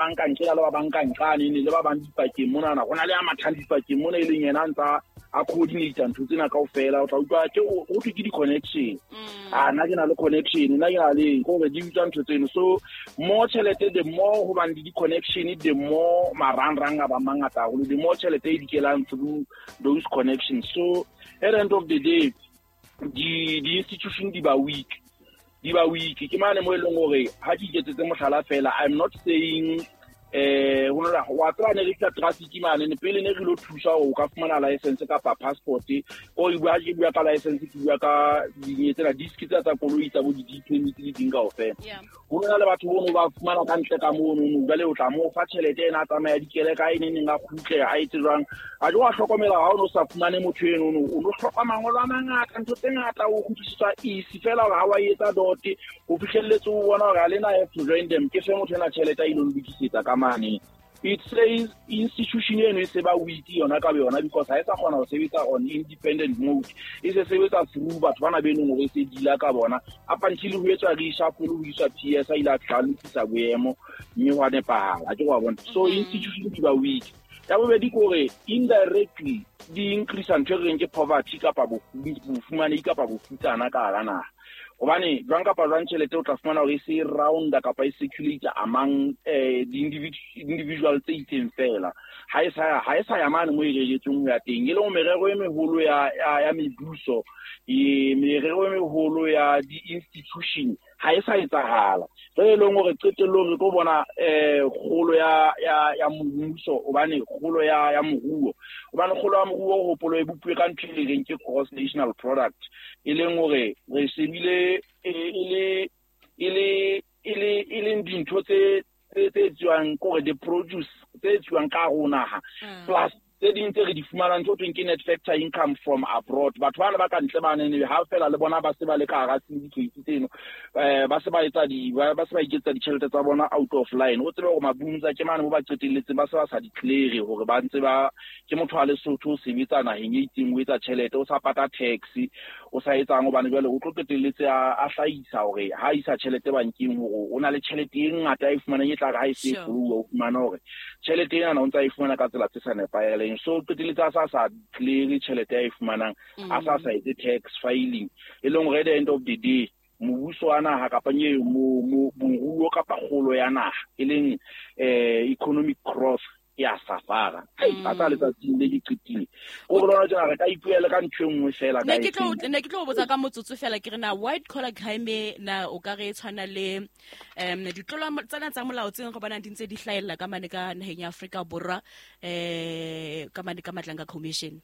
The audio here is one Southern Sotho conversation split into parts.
Bang ka ntle le ba bang ka nqane ne le ba bang dipakeng monana, go na le a mathang dipakeng mona, e leng yena a ntsa a coordinate ntho tsena kaofela. O tla utlwa ke go thwe ke di-connection. A nna ke na le connection, nna ke na le eng, kore di utswa ntho tseno. So more tjhelete, the more ho bang le di-connection, the more marangrang a ba mangata haholo, the more tjhelete e dikelang through those connections. So at the end of the day, di-institution di ba weak, di ba weak. Ke mane mo e leng hore ha ke iketsetse mohlala fela, I'm not saying ho nna wa tseba ne re tla traffic mane ne pele ne re lo thusa hore o ka fumana license kapa passport. O e bua, ke bua ka license, ke bua ka dinye tsena, disc tsa koloi, tsa bo di permit le ding kaofela. Ho na le batho bono ba fumana ka ntle ka mono no, jwale o tla mo fa tjhelete ena, a tsamaya dikele ka ene neng, a kgutle a etse jwang. A jo wa hlokomela ha o no sa fumane motho eno no, o no hloka mangolo a mangata, ntho tse ngata, o kgutlisetswa easy fela hore ha wa etsa dot o fihlelletse, o bona hore ha lena have to join them, ke fe motho ena tjhelete a ilo lokisetsa ka mane. It says institution eno e se ba weak yona ka yona, because ha e sa kgona ho sebetsa on independent mode, e se sebetsa through batho bana be leng hore e se deala ka bona, up until ho etswa reshuffle, ho iswa PS, a ile a tla lokisa boemo mme ho a nepahala. A ke wa bona? So institution di ba weak. Ya bobedi ke hore indirectly di increase ntho e re reng ke poverty kapa bofumanehi kapa bofutsana ka hara naha, hobane jwang kapa jwang tjhelete o tla fumana hore e se rounda kapa e circulate among di-individual tse itseng fela, ha e sa ya mane mo e reretsweng ho ya teng, e leng merero e meholo ya mebuso, e merero e meholo ya di-institution ha e sa etsahala. Jwale e leng hore qetellong re tlo bona kgolo ya mmuso, hobane kgolo ya moruo, hobane kgolo ya moruo hopolo e bopuwe ka ntho e reng ke gross national product, e leng hore re shebile e leng dintho tse etsuwang, kore the produce tse etsuwang ka hare ho naha, plus tse ding tse re di fumanang, tse thweng ke net factor income from abroad. Batho bana ba ka ntle bane ha fela le bona ba se ba le ka hara syndicate tseno, ba se ba etsa di ba se ba iketsa ditjhelete tsa bona out of line. O tsebe hore mabunza ke mane mo ba qetelletse ba se ba sa declare hore ba ntse ba ke motho wa Lesotho, o sebetsa naheng e itseng, o etsa tjhelete, o sa pata tax, o sa etsang, hobane jwale o tlo qetelletse a hlahisa hore ha isa tjhelete bankeng hore o na le tjhelete e ngata e fumanang, e tla re ha e se foluwa, o fumana hore tjhelete ena o ntse a e fumana ka tsela tse sa nepahaleng. So qetelletse a sa declare tjhelete a e fumanang, a sa etse tax filing, e leng hore at the end of the day mobuso wa naha kapa nye moruo kapa kgolo ya naha, e leng economic growth, ya safara. A tsa letsatsing le ke qetile ko re lona tjena, re ka ipuela ka ntho e nngwe fela. Ne ke tlo botsa ka motsotso fela, ke re na white collar crime na o ka re e tshwana le ditlolo tsena tsa molao tse go bonang di ntse di hlahella ka mane ka naheng ya Afrika Borwa, ka mane ka Madlanga Commission?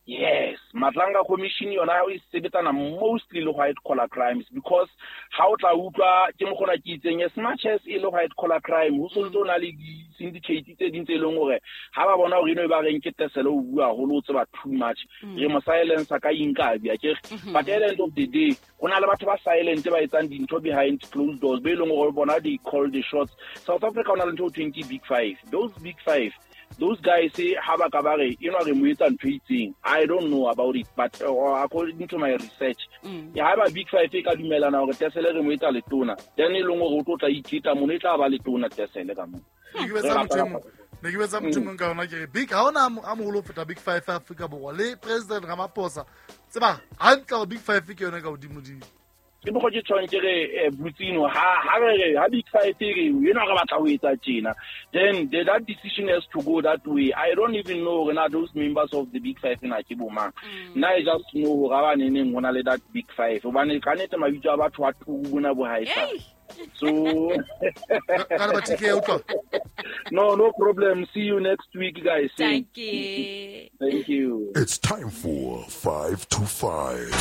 Yes, Madlanga Commission yona e sebetsana mostly le white collar crimes, because ha o tla utlwa ke mokgona ke itseng, as much as e le white collar crime, ho sontse o na le di-syndicate tse ding tse e leng hore ha ba bona hore eno e ba reng ke tesele, o bua haholo, o tseba too much, re mo silence ka inkabi akere. But at the end of the day, ho na le batho ba silent ba etsang dintho behind closed doors, be e leng hore bona they call the shots. South Africa o na le ntho o thweng ke Big Five. Those Big Five, those guys, ha ba ka ba re eno re mo etsa ntho e itseng, I don't know about it, but according to my research, ya ha ba Big Five e ka dumelana hore tesele re mo etsa letona, then e leng hore o tlo tla iketa mono, e tla ba letona tesele ka moo. Ne ke betsa motho mong ka yona, ke re big ha ona a moholo ho feta Big Five ya Afrika Borwa le President Ramaphosa, tseba hantle hore Big Five ke yone ka hodimodimo. Ke mokgwa ke tshwang ke re Butsino, ha re re ha Big Five e re ena re batla ho etsa tjena, then that decision has to go that way. I don't even know hore na those members of the Big Five na ke bo mang. Nna I just know hore ba neneng ho na le that Big Five, hobane ka nnete mabitso a batho a turu bona bo haesa. So Ka le batike utlwa. No problem. See you next week, guys. Thank you. Thank you. It's time for 5 to 5.